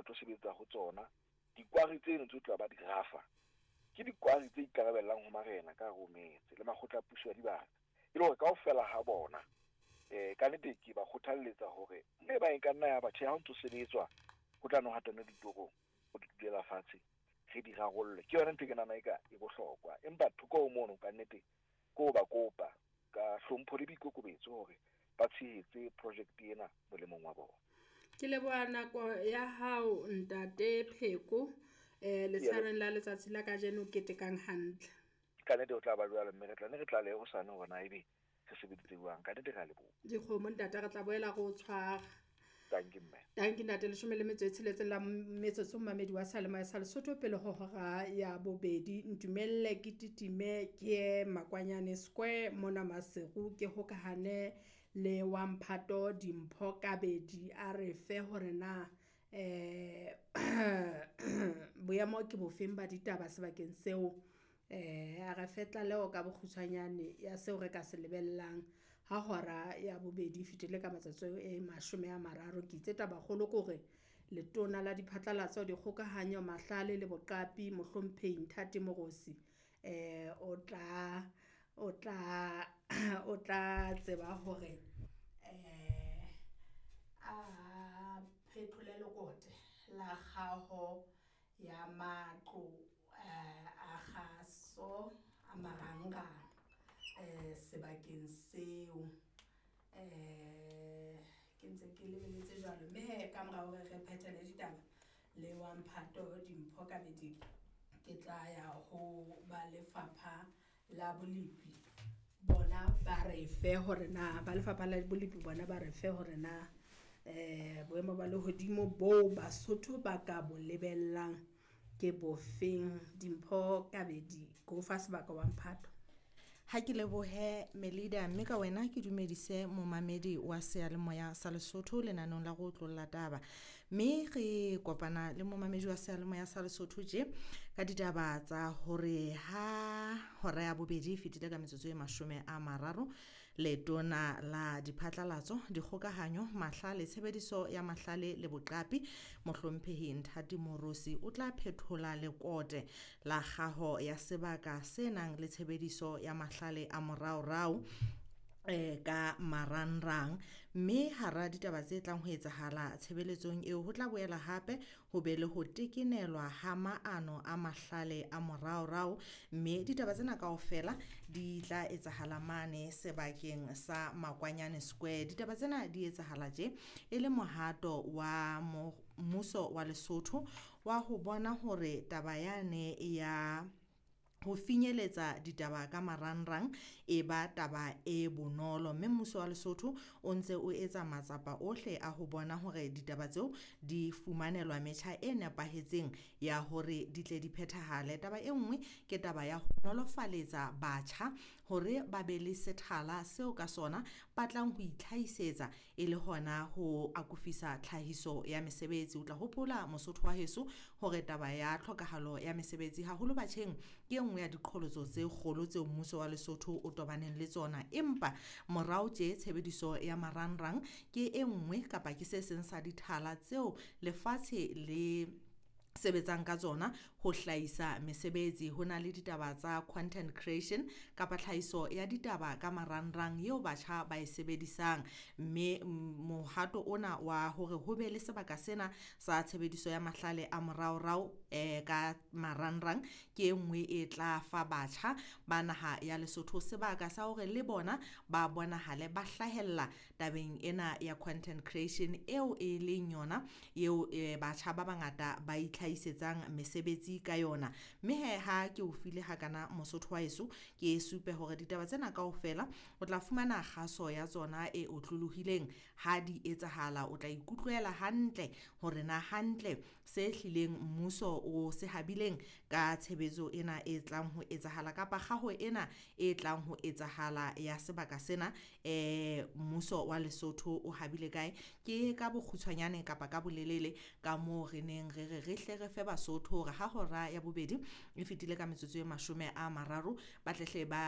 ba tlo sebetsa ho tsona. Dikwari tseno tse tla ba di rafa ke dikwari tse ikarabellang ho marena ka hare ho metse le makgotla a puso ya dibaka, e le hore kaofela ha bona ka nnete ke ba kgothalletsa hore le ba e ka nna ya ba tjhe, ha o ntso sebetswa ho tla no hatanwe ditorong, ho di dulela fatshe re di rarolle. Ke yona ntho e ke nahana eka e bohlokwa, empa thoko ho mono ka nnete ke ho ba kopa ka hlompho le boikokobetso hore ba tshehetse project ena molemong wa bona. Ke leboha nako ya hao ntate Pheko, letshareng la letsatsi la kajeno ketekang hantle. Ka nnete o tla ba jwalo, mme re tla ne re tlalehe hosane hore na ebe re sebeditse jwang. Ka nnete re a leboha. Dikgomo ntate, re tla boela re o tshwara. Dankie mme. Dankie ntate, 16 la metsotso mmamedi wa Seyalemoya sa Lesotho pele ho hora ya bobedi. Ntumelle ke titime ke ye Makwanyane Square mona Maseru, ke hokahane le wa Mphato Dimpho Kabedi a re fe hore na boemo ke bofeng ba ditaba sebakeng seo. A re fe tlaleho ka bokgutshwanyane ya seo re ka se lebellang ha hora ya bobedi e fetile ka matsatsi e 30. Ke itse tabakgolo ke hore letona la diphatlalatso, dikgokahanyo, mahlale le boqapi mohlomphehi Nthati Moorosi o tla tseba hore a phethole lekote la kgaho ya matlo a kgaso a marangrang sebakeng seo. Ke ntse ke lebeletse jwalo, mme he ka mora hore re phethele ditaba le wa Mphato Dimpho Kabedi, ke tla ya ho ba lefapha la bolepi bona ba re fe hore na ba lefapha la bolepi bona ba re fe hore na boemo ba lehodimo bo Basotho ba ka bo lebellang ke bofeng. Dimpho Kabedi, ko fa sebaka wa Mphato. Ha ke lebohe Melida, mme ka wena ke dumedise momamedi wa Seyalemoya sa Lesotho lenanong la go otlolla taba. Mme re kopana le momamedi wa Seyalemoya sa Lesotho tje ka ditaba tsa hore ha hora ya bobedi e fetile ka metsotso e 30, letona la diphatlalatso, dikgokahanyo, mahlale, tshebediso ya mahlale le boqapi mohlomphehi Nthati Moorosi o tla phethola lekote la kgaho ya sebaka se nang le tshebediso ya mahlale a moraorao ka marangrang. Mme hara ditaba tse tlang ho etsahala tshebeletsong eo, ho tla boela hape ho be le ho tekenelwa ha maano a mahlale a moraorao, mme ditaba tsena kaofela di tla etsahala mane sebakeng sa Makwanyane Square. Ditaba tsena di etsahala tje e le mohato wa mmuso wa Lesotho wa ho bona hore taba yane ya ho finyeletsa ditaba ka marangrang e ba taba e bonolo, mme mmuso wa Lesotho o ntse o etsa matsapa ohle a ho bona hore ditaba tseo di fumanelwa metjha e nepahetseng ya hore di tle di phethahale. Taba e nngwe ke taba ya ho nolofaletsa batjha hore ba be le sethala seo ka sona ba tlang ho itlhahisetsa e le hona ho akofisa tlhahiso ya mesebetsi. O tla hopola Mosotho wa heso hore taba ya tlhokahalo ya mesebetsi haholo batjheng ke e nngwe ya diqholotso tse kgolo tseo mmuso wa Lesotho o tobaneng le tsona, empa morao tje tshebediso ya marangrang ke e nngwe kapa ke se seng sa dithala tseo lefatshe le sebetsang ka tsona ho hlahisa mesebetsi. Ho na le ditaba tsa content creation kapa tlhahiso ya ditaba ka marangrang eo batjha ba e sebedisang, mme mohato ona wa hore ho be le sebaka sena sa tshebediso ya mahlale a moraorao ka marangrang ke e nngwe e tla fa batjha ba naha ya Lesotho sebaka sa hore le bona ba bonahale ba hlahella tabeng ena ya content creation eo e leng yona eo batjha ba bangata ba itlhahisetsang mesebetsi ka yona. Mme he ha ke o file hakana Mosotho wa heso, ke supe hore ditaba tsena kaofela o tla fumana kgaso ya tsona e otlolohileng ha di etsahala. O tla ikutlwela hantle hore na hantle se hlileng mmuso o se habileng ka tshebetso ena e tlang ho etsahala kapa kgaho ena e tlang ho etsahala ya sebaka sena, mmuso wa Lesotho o habile kae. Ke ka bokgutshwanyane kapa ka bolelele ka moo re neng re re re hle re fe Basotho hore ha hora ya bobedi e fetile ka metsotso e 30 ba tlehle ba